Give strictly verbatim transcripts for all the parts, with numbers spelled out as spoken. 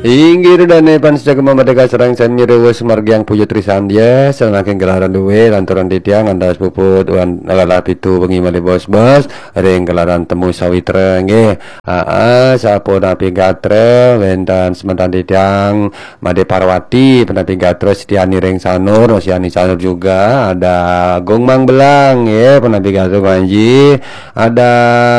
Inggih ridane pan sejagat Merdeka sareng sami ruwes margiang puja trisandia, sanaking gelaran duwe lanturan titiang ngantos puput wan galah pitu wengi malih bos-bos, ring gelaran temu sawitra nggih. Aa, sapunapi gatra wenten semeton titiang Made Parwati, punapi gatra Setiani ring Sanur, Setiani Sanur juga, ada Agung Mang Belang nggih, punapi gatra Panji, ada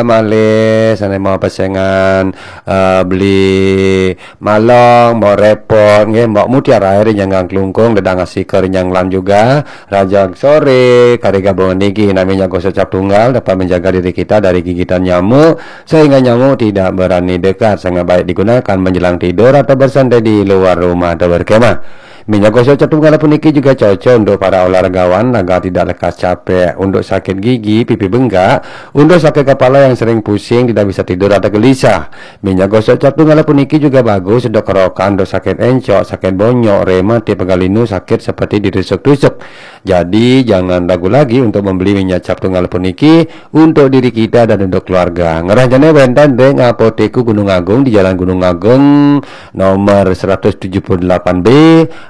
malih sane mau pesengan, eh, beli Malong, Mbok Repot, nggih, Mbok Mutiara ring Nyanggang Klungkung, Dedang Asika ring Nyanglan juga. Rajang sore, kari gabungan niki, namanya gosok cap tunggal dapat menjaga diri kita dari gigitan nyamuk, sehingga nyamuk tidak berani dekat. Sangat baik digunakan menjelang tidur atau bersantai di luar rumah atau berkemah. Minyak gosok cap tunggal puniki juga cocok untuk para olahragawan, raga tidak lekas capek, untuk sakit gigi, pipi bengkak, untuk sakit kepala yang sering pusing, tidak bisa tidur atau gelisah. Minyak gosok cap tunggal puniki juga bagus untuk kerokan, untuk sakit encok, sakit bonyok, rematik, pegal linu, sakit seperti ditusuk-tusuk. Jadi, jangan ragu lagi untuk membeli minyak cap tunggal puniki untuk diri kita dan untuk keluarga. Ngrahjane wenten ring Apotek Gunung Agung di Jalan Gunung Agung nomor seratus tujuh puluh delapan B,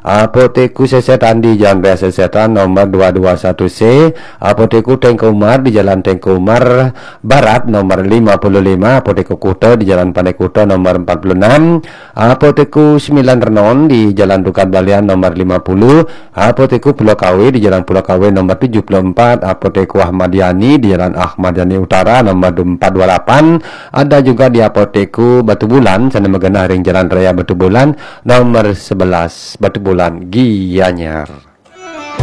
Apotek Sesetan di Jalan Raya Sesetan nomor dua dua satu C, Apotek Tengku Umar di Jalan Tengku Umar Barat nomor lima puluh lima, Apotek Kuta di Jalan Pandai Kuta nomor empat puluh enam, Apotek Sembilan Renon di Jalan Tukad Balian nomor lima puluh, Apotek Pulau Kawe di Jalan Pulau Kawe nomor tujuh puluh empat, Apotek Ahmad Yani di Jalan Ahmad Yani Utara nomor empat dua lapan, ada juga di Apotek Batubulan, sane magenah ring Jalan Raya Batubulan nomor sebelas, Batubulan, Gianyar.